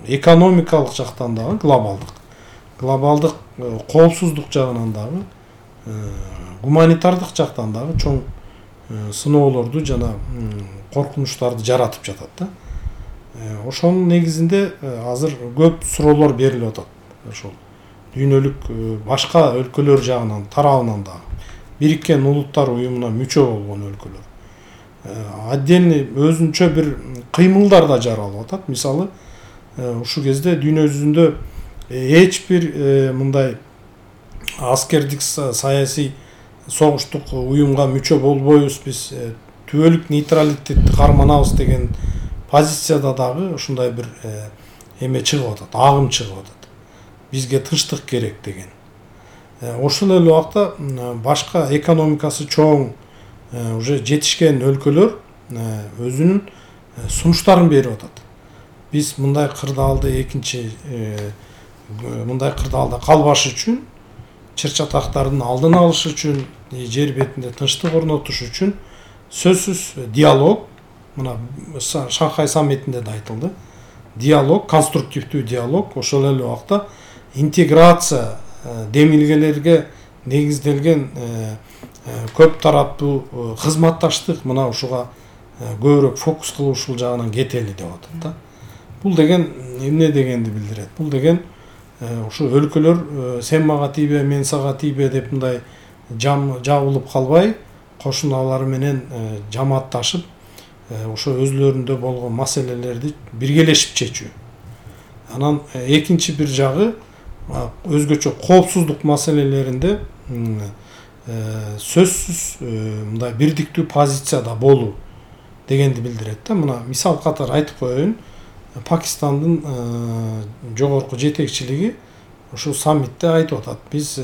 экономикалык жактан дагы глобалдык коопсуздук жагынан дагы гуманитардык жактан дагы чоң сыноолорду жана коркунучтарды жаратып жатат да. Ошонун негизинде азыр көп суроолор берилип атат. Ошол дүйнөлүк башка өлкөлөр жагынан тарабынан дагы Бириккен Улуттар уюмуна мүчө болгон өлкөлөр отдельный өзүнчө бир кыймылдар да жаралып атат. Мисалы, ушул кезде дүйнө жүзүндө эч бир мындай аскердик саясий согуштук уюмга мүчө болбойбуз, биз түбөлүк нейтралитетти карманабыз деген позицияда дагы ушундай бир эме чыгып атат, агым чыгып атат. Бизге тынчтык керек деген. Ошол эле убакта башка экономикасы чоң уже жетишкен өлкөлөр өзүнүн сунуштарын берип атат. Биз мындай кырдаалды мындай кырдаалда калбаш үчүн, чыр-чатактардын алдын алыш үчүн, жер бетинде тынчтык орнотуш үчүн сөзсүз диалог, мына Шанхай саммитинде да айтылды. Диалог, конструктивдүү диалог, ошол эле убакта интеграция, демилгелерге негизделген көп тараптуу кызматташтык, мына ушуга көбүрөөк фокус кылып ушул жагынан кетели деп атат да. Бул деген эмне дегенди билдирет? Бул деген ушу өлкөлөр сен мага тийбе, мен сага тийбе деп мындай жабылып калбай, кошуналары менен жамаатташып, ошо өзлөрүндө болгон маселелерди биргелешип чечүү. Анан экинчи бир жагы өзгөчө коопсуздук маселелеринде сөзсүз мындай бирдиктүү позицияда болуу дегенди билдирет да. Мына мисал катары айтып коеюн. Пакистандын жогорку жетекчилиги ушу саммитте айтып атат. Биз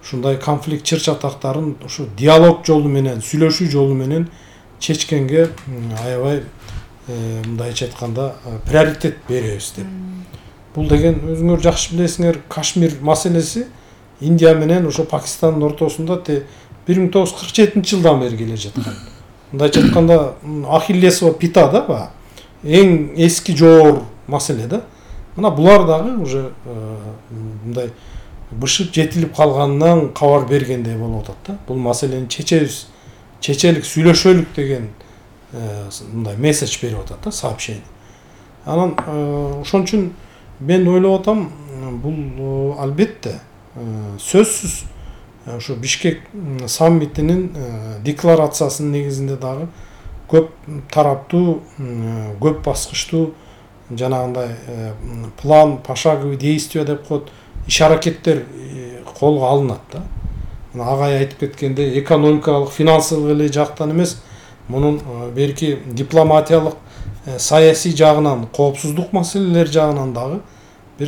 ушундай конфликт чыр-чатактарын ушу диалог жолу менен, сүйлөшүү жолу менен чечкенге аябай мындайча айтканда приоритет беребиз деп. Бул деген өзүңөр жакшы билесиңер, Кашмир маселеси Индия менен ошо Пакистандын ортосунда 1947-жылдан бери келе жаткан. Мындайча айтканда Ахиллесова пята да, эң эски жоор маселе да. Мына булар дагы уже мындай бышып жетилип калганынан кабар бергендей болуп атат да. Бул маселени чечебиз, чечелик, сүйлөшөлүк деген мындай месседж берип атат да, сообщение. Анан ошон үчүн мен ойлоп атам, бул албетте сөзсүз ошо Бишкек саммитинин декларациясынын негизинде дагы көп тараптуу, көп баскычтуу жанагындай план, пошаговый действия деп коет, иш-аракеттер колго алынат да. Агай айтып кеткендей, экономикалык, финансылык эле жактан эмес, мунун берки дипломатиялык, саясий жагынан, коопсуздук маселелери жагынан дагы бир